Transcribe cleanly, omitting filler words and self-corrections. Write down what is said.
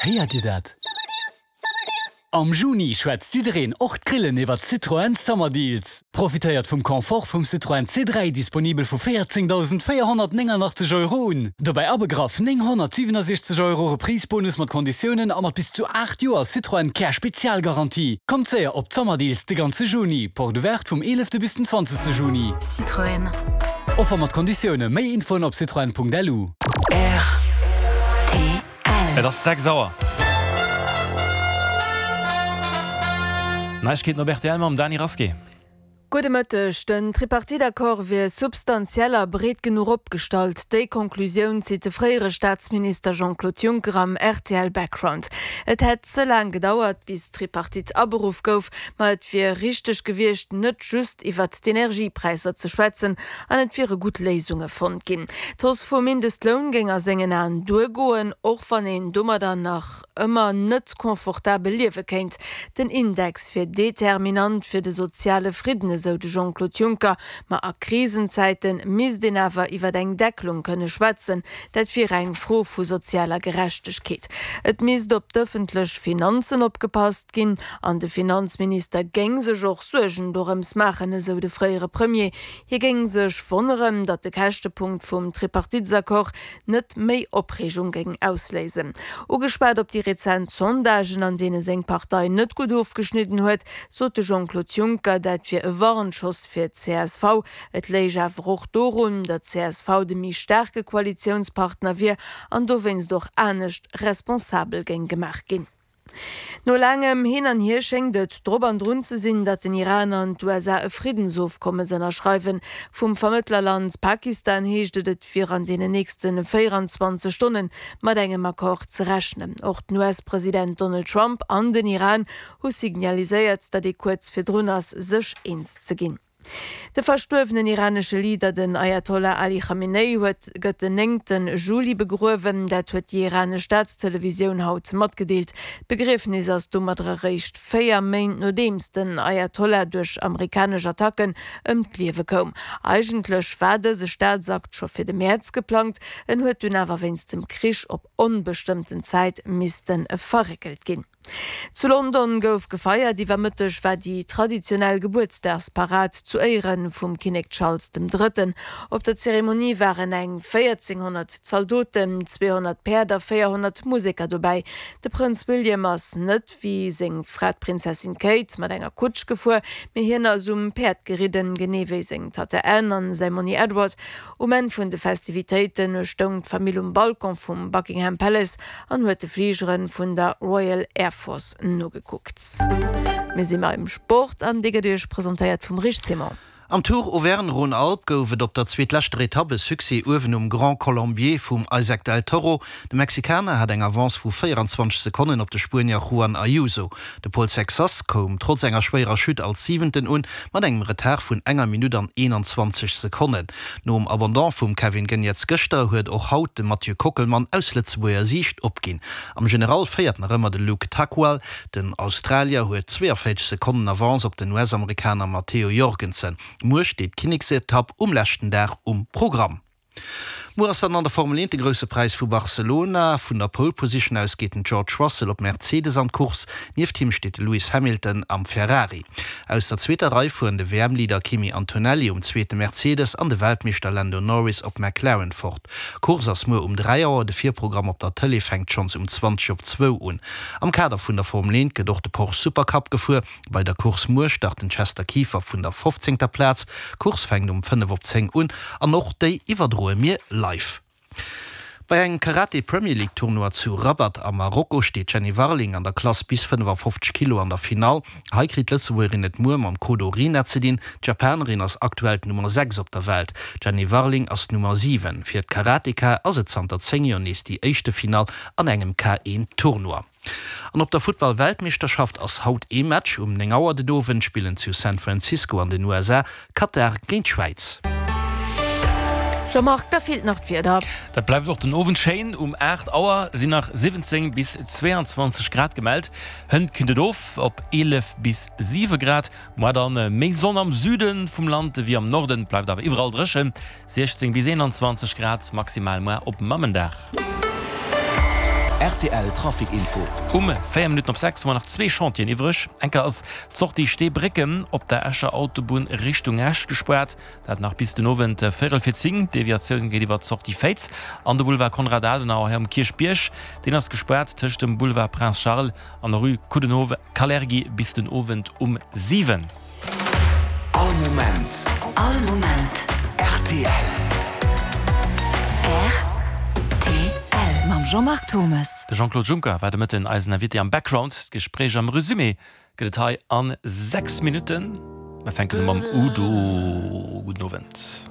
Héiert Dir dat? Am Juni schwätzt jiddereen, och d'Grillen, iwwer Citroën Summer Deals. Profitéiert vum Confort vum Citroën C3, disponibel vu 14.489 Euro un. Dobäi abegraff 967 Euro Reprise-Bonus mat Konditiounen a mat bis zu 8 Joer Citroën Care Spezialgarantie. Kommt séier op d'Summer Deals de ganze Juni. Porte ouverte vum 11 bis den 20 Juni. Citroën. Offer mat Konditioune. Méi Infoen op citroën.lu. Rtl. Et ass 6 Auer. Neiegkeeten op rtl mam Dany Rasqué. Gudde Mëtteg. Den Tripartite-Accord wier substantiell a breet genuch opgestallt. Déi Conclusioun zitt de fréiere Staatsminister Jean-Claude Juncker am rtl Background. Et hätt ze laang gedauert, bis d'Tripartite aberuff gouf, ma et wier richteg gewiescht, net just iwwert d'Energiepräisser ze schwätzen an et wiere gutt Léisunge fonnt ginn. D'Hausse vum Mindestloun géing a sengen Aen duergoen, och wann een domadder nach ëmmer net confortabel liewe kéint. Den Index wier determinant fir de soziale Fridden, esou de Jean-Claude Juncker. Ma a Krisenzäite misst een awer iwwer eng Deckelung kënne schwätzen. Dat wier eng Fro vu sozialer Gerechtegkeet. Et misst op d'ëffentlech Finanzen opgepasst ginn an de Finanzminister géing sech och Suergen dorëms maachen, esou de fréiere Premier. Hie géing sech wonneren, datt de Käschtepunkt vum Tripartitesaccord net méi Opreegung géing ausléisen. Ugeschwat op déi rezent Sondagen, an deene seng Partei net gutt ofgeschnidden huet, sot de Jean-Claude Juncker, dat wier e Warnschoss fir d'CSV. Et léich awer och dorun, datt csv de méi staarke Koalitiounspartner wier an dowéinst och anescht responsabel géing gemaach ginn. No laangem Hin an Hier schéngt et drop an drun ze sinn, datt den Iran an d'USA e Friddensofkommes ënnerschreiwen. Vum Vermëttlerland Pakistan heescht et, et wier an deenen nächste 24 Stonne mat engem Accord ze rechnen. Och den US-President Donald Trump an den Iran hu signaliséiert, datt ee kuerz virdrun ass, sech eens ze ginn. De verstuerwenen iranesche Leader, den Ayatollah Ali Khamenei, huet gëtt den néngte Juli begruewen. Dat huet déi iranesch Staatstelevisioun haut matgedeelt. D'Begriefnis ass domadder eréischt 4 Méint nodeems den Ayatollah duerch amerikanesch Attacken ëm d'Liewe koum. Eigentlech war dëse Staatsakt scho fir de Mäerz geplangt, en huet dunn awer wéinst dem Krich op onbestëmmten Zäit misste verréckelt ginn. Zu London gouf gefeiert. Iwwer Mëtteg war déi traditionell Gebuertsdagsparad zu Éiere vum Kinnek Charles dem Drëtten. Op der Zeremonie waren eng 1.400 Zaldoten, 200 Päerd a 400 Museker dobäi. De Prënz William ass net wéi seng Fra d'Prinzessin Kate mat enger Kutsch gefuer, mee hien ass um Päerd geridden, genee wéi seng Tatta Anne an säi Monni Edward. Um Enn vun de Festivitéite stoung d'Famill um Balcon vum Buckingham Palace an huet de Fligere vun der Royal Air Force nogekuckt. Mir si beim Sport an dee gëtt Iech presentéiert vum Rich Simon. Am Tour Auvergne-Rhône-Alpes gouf et op der zweetleschter Etapp e Succès uewen um Grand Colombier vum Isaac Del Toro. De Mexikaner hat eng Avance vu 24 Sekonnen op de Spuenier Juan Ayuso. De Paul Sexas koum trotz enger schwéierer Chute als Siwenten un, mat engem Retard vun enger Minutt an 21 Sekonnen. Nom Abandon vum Kevin Geniets gëschter huet och haut de Mathieu Kockelmann aus Lëtzebuerger Siicht opginn. Am General féiert nach ëmmer de Luke Tuckwell. Den Australier huet 42 Sekonnen Avance op den US-Amerikaner Matteo Jorgensen. Muer steet d'Kinneksetapp um leschten Dag um Programm. Muer ass dann an der Formel 1 de Grousse Präis vu Barcelona. Vun der Pole Position aus geet den George Russell op Mercedes an d'Course. Nieft him steet de Lewis Hamilton am Ferrari. Aus der zweeter Rei fueren de WM-Leader Kimi Antonelli um zweete Mercedes an de Weltmeeschter Lando Norris op McLaren fort. D'Course ass muer um 3 Auer, de Virprogramm op der Tëlee fänkt schonns um 20 op zwou un. Am Kader vun der Formel 1 gëtt och de Porsche Supercup gefuer. Bei der Course muer start den Chester Kieffer vun der fofzéngter Plaz. D'Course fänkt um 5 op 10 un an och déi iwwerdroe mir live. Bei engem Karate Premier League Tournoi zu Rabat a Marokko steet d'Jenny Warling an der Klass bis 55 Kilo an der Finall. Hei kritt d'Lëtzebuergerin et muer mam Kodo Rina ze dinn. D'Japanerin ass aktuell d'Nummer 6 op der Welt. D'Jenny Warling ass d'Nummer 7. Fir d'Karateka ass et zanter 10 Joer nees déi éischte Finall an engem K1 Tournoi. An op der Futtball-Weltmeeschterschaft ass haut ee Match. Um 9 Auer den Owend spillen zu San Francisco an den USA Katar géint d'Schwäiz. Jean-Marc, da feelt nach d'Wieder. Dat bleift och den Owend schéin. Um 8 Auer sinn nach 17 bis 22 Grad gemellt. Hënt killt et of op 11 bis 7 Grad. Moar dann méi Sonn am Süde vum Land ewéi am Norden, et bleift awer iwwerall dréchen, 16 bis 21 Grad maximal moar op Mammendag. Rtl Trafic Info. Um 4 Minutten op 6 hu mer nach zwee Chantieren iwwreg. Enker ass d'Sortie Steebrécken op der Escher Autobunn Richtung Esch gespaart, dat nach bis den Owend véierel fir 10. D'Deviatioun geet iwwer d'Sortie Féiz an de Boulevard Konrad Adenauer hei um Kierchbierg. Deen ass gespaart tëscht dem Boulevard Prince Charles an der Rue Coudenhove-Kalergi bis den Owend um 7. All Moment. All Moment. Rtl. Rtl. Mam Jean-Marc Thomes. De Jean-Claude Juncker war de Mëtten eisen Invité am Background. D'Gespréich am Resumé gëtt et hei a 6 Minutten. Mer fänken u mam Udo. Gudden Owend.